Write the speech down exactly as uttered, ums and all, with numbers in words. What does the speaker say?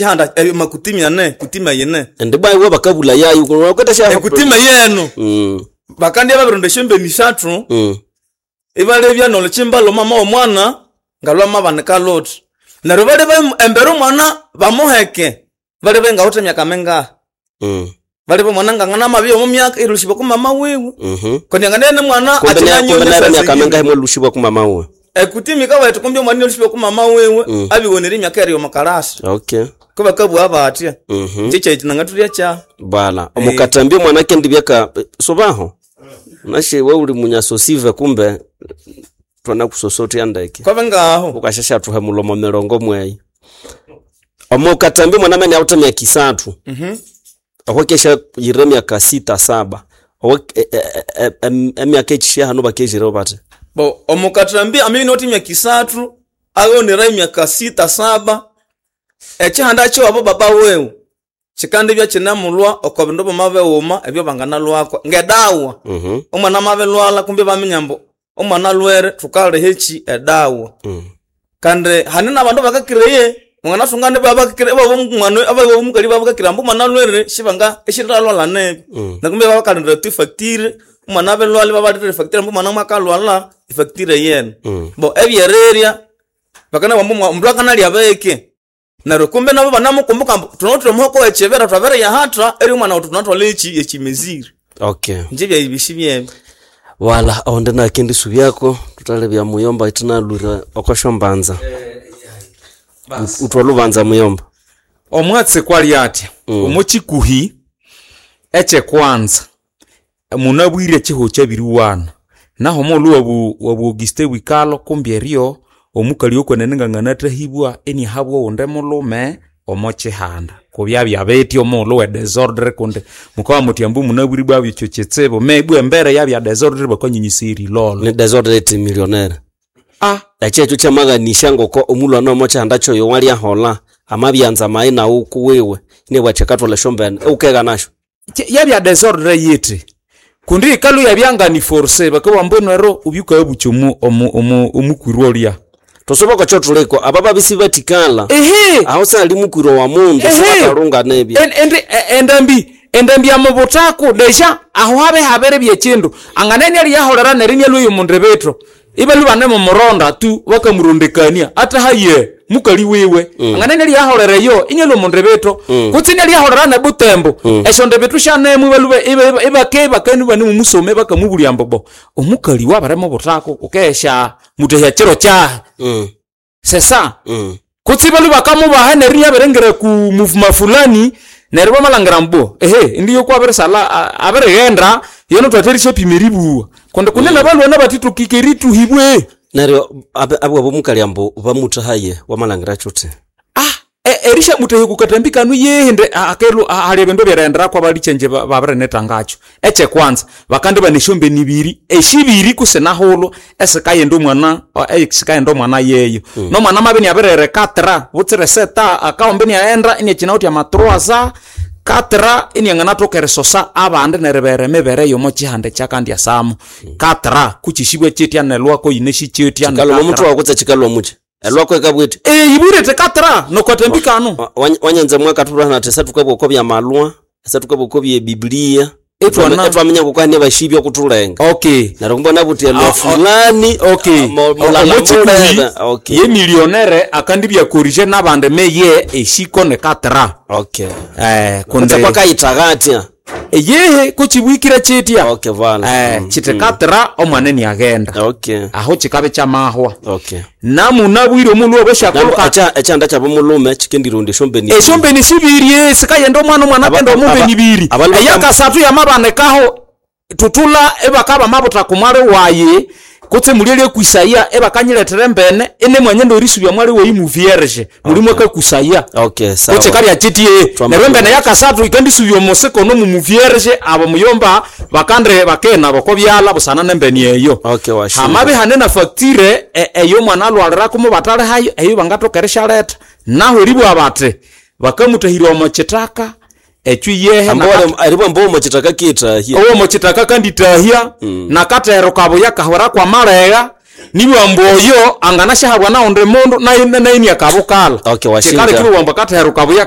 Chihanda eh, makutimi ane kutima yene. Ende bwa iwe bakabula yayo kwetesha. Ekutima yenu. Mm. Bakandya babironda esyombeni isathu. Mm. Ibalebya nolukimba lwamama w'omwana ngalwamabanika luthi. Neryo baleba embere omwana bamuheke, balebe ngawithe emyaka mingahi. Mm. Balebe omwana nganganamabya omu myaka erilusyibwa ku mama wiwe. Mhm. Kundi anganene mwana Kumbe ne- kumbe akinanyonya nere myaka saa mingahi zingine. mwelushibwa ku mama wiwe? Ekutima ikawethu kumbi omwana erilusyibwa ku mama wiwe Mm. abiwonere emyaka eri omu kalasi. Okay. Kubakabugha batya. Mhm. Inje kyekyi nangathulya kyahu. Bala, omukatambia omwana kendi byaka sobaho. Nashe we uli munyasosive kumbe twanakusosotya ndeke. Kwabe ngaho. Ukashasha mulomo mirongo mweyi. Omukatambia omwana mene awuthe myaka isathu. Mhm. Okwekesha yire myaka sita saba. Owe emyaka ekisha hano bakejire bate. Bo omukathambi amabya inawithe emyaka isathu aghonera emyaka sita saba, ekihanda kyewabo baba wiwe kikandibya kinemulhwa oko bindu byamabighuma ebyo banganalhwako ngedawa. Mhm. Omwana amabilhwalha kumbi ibaminya ambu omwana alhwere thukaliha eki edawa. Mm. Kandi hane nabandu abakakireye wanganathunga ibabakakira abomukali babakakira ambu omwana alhwere sibanga isindalhwalha nibi. Mm. Neryo kumbi bakalindira tu efacture, omwana abilhwalha ibabalethera efacture ambu omwana mwakalhwalha efacture yene. Mm. Bo ebyerirya bakanabugha ambu omundu akanalya bike. Neryo kumbi nabo banamukumbuka ambu thunawithe omuhoko owekibira twabiriyahatha eri omwana wethu thunathwalha eki ekimezire. Okay. Inje byayibisi byebyo. Wala onde nakindi subyako tutalebya muyomba itinalwira okoshombanza. Utwa lubanza muyomba. Omwatsi kwali atya Mm. omukikuhi ekyekwanza munabwire ekiho kyabiriwana naho omulhu wabu wabu Auguste Wikalo kumbi eryo omukali okwenene nganganathahibwa iniahabwa owundi mulhume omo kihanda kubyabya bithi omughulhu we desordre kundi mukabugha muthi ambu munabwire ibwabya ekyo kitsibu maybe embere yabya desordre bakanyunyisaya erilolho. Ni desordre eti millionaire. Ah, Ekyo ekyo kyamaghanisya ngoko omulhwana omo kyihanda kyoyo walyaholha amabyanza mayi nawu kuwiwe inabugha athi akathwalha esyombene iwukegha nasyo. Kye- yabya desordre yithi kundi ikalu yabyangani force bakabugha ambu ero ubyukabukya omu omu omu omukwirwa olya. Thusoba okwa thuliko aba babisi bathikala Ehe aho sali mukwirwa wa mundu Ehe. sibakalunga nebya. En- endi- e- endambi endambi yamubuthaku deja aho habe habere byekindu anganene aliyaholera neryo inialhwa omundu bithu ibalhwa ibanemumuronda tu bakamurondekania ata haye mukali wiwe mm. anganene aliyaholera eyo inialhwa omundu bithu mm. kutse inialiyaholera nebutembo mm. esyonde bithu syanemu ibalhwa ibake bakanu ibanemumusoma bakamubulya ambu bo omukali wabirimubuthako wukesha mutahya kiro kyahi. Mm. Sesa Mm. kutse ibalhwa bakamubaha neryo iniabiringira ku muvuma fulani neryo bamalhangira ambu ehe indi yokwabirisalha abirighenda yono thwatherisya-pima eribuwa kundi kunene abalwana bathithokike erituhibwe. Neryo abe- abwabo omukali ambu bamuthahaye wamalhangira kyuthi. Ah, e- erishamutahya kukatambi kanu yehende akelhu hali ebindu ebyerighenderaku abalikyenje babirinethangakyo ekyekwanza bakandibana esyombeni ibiri eshibiri kusinahulhu esikaghenda omwana esikaghenda omwana yeyo nomwana amabya iniabirihera ekatra butsira eseta akahomba iniaghenda iniakyinawithe amatruwaza katra inianganathoka erisosa abandi neribera emibere yomo kyihanda ekyakandyasamo katra kukyisibwa kyitya nelwako yinesikyitya. Kikalhwa omuthu wawu kutse kikalhwa mukyi elwako ikabwithe. Ibwirete katra nokatambi kanu. Wa- wanya- wanyanza mwakathulhana athi esathukabugha okwa byamalwa esathukabugha okwa byebibiliya Ithwana- ethwaminya ngoko bashibya okuthulenga. Okay. Neryo kumbona buthi elwa Ah, ah, fulani okay ah, mo- mulala omukyikuhi mulebe. Okay. ye millionaire akandibya korije nabandi meye eshiko ne katra. Okay. Eh kutse kundi kwakayithaga atya. Yehe kuchibwikira chitya. Okay vala. Eh Mm, chite mm. katra omwana niaghenda Okay. aho chikabe chamahwa Okay. namunabwire omulhu Nambu obweshakoka echa ekyanda kyabo mulume chikendironda esyombeni. esyombeni sibiri sikayenda omwana omwana Aba- akenda aba- omumbeni ibiri abalu bakam- eyakasathu yamabanikaho tutula ebakaba mabutha kumwali wayi kutse mulye lyekwisaya ebakanyilethera embene inemwanya ndorisubya mwali wayi mu vierge muli mwakakusaya. Okay, sawa. Kutse kalya kyitye Twama- neryo embene yakasathu ikandisubya omusiko nomu muvierge abo muyomba bakande bakena boko byala busana nembene eyo. Okay, washinga. Hamabi hane na facture e- eyo omwana alwalirako mubatalihayo eyo bangathoka erisyaletha naho eribugha bathi bakamutahirya omo kithaka ekyo yehe Ambu nakati- wale- eribwa mbu omo kitaka kitahya. owo mukithaka kanditahya nakatero kabuya kahwera kwamalegha nibugha ambu oyo anganasyahabwa nawundi mundu naye naye niakabukala. Okay, washinga. Kikaleka ibugha ambu akathero kabuya kahwera.